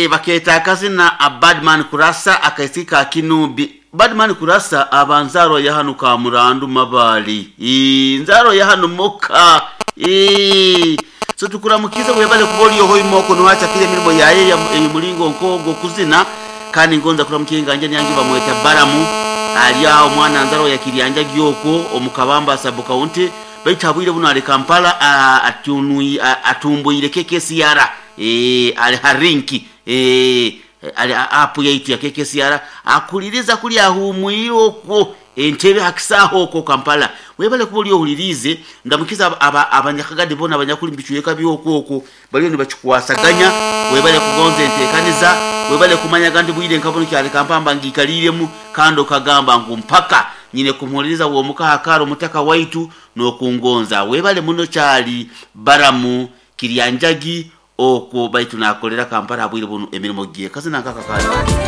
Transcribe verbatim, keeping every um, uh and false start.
Eh, bakeeta akazina a Badman Kurasa, akaisiki ka Kinumbi. Badman Kurasa aba nzaro ya hano ka Murandu Mabali. Eh, nzaro ya hano muka. Eh, so tukuramukize, webale kuba oli ohoimoko niwachakire emirimo yaye emulingo nkogo kuzina. Kandi ngonza kuramukiye nganje nyangi bamweta Baramu, ali aho omwana nzaro ya Kiryanja gyoko omukabamba sub county, baitu abwire buno ali Kampala, atunui atumbuire K K C R, eh ali harinki, eh ali apu yaitu ya K K C R, akuliriza kuli ahumwire okwo entebe hakisaho okwo Kampala. Webale kuba oli ohulirize. Ndamukiza abanyakagadi bona abanyakuli mubicweka byokwo okwo baliyo nibakikwasaganya. Webale kugonza entekaniza, webale kumanyaga nti bwire nkabono kyali kampamba ngikaliremu, kandi okagamba ngu mpaka nyine kumuhuliriza womukaha omutaka waitu nokungonza. Webale muno kyali Baramu Kiryanjagi okwo, baitu nakolera Kampala abwire buno emirimo gye kazina nkakakali.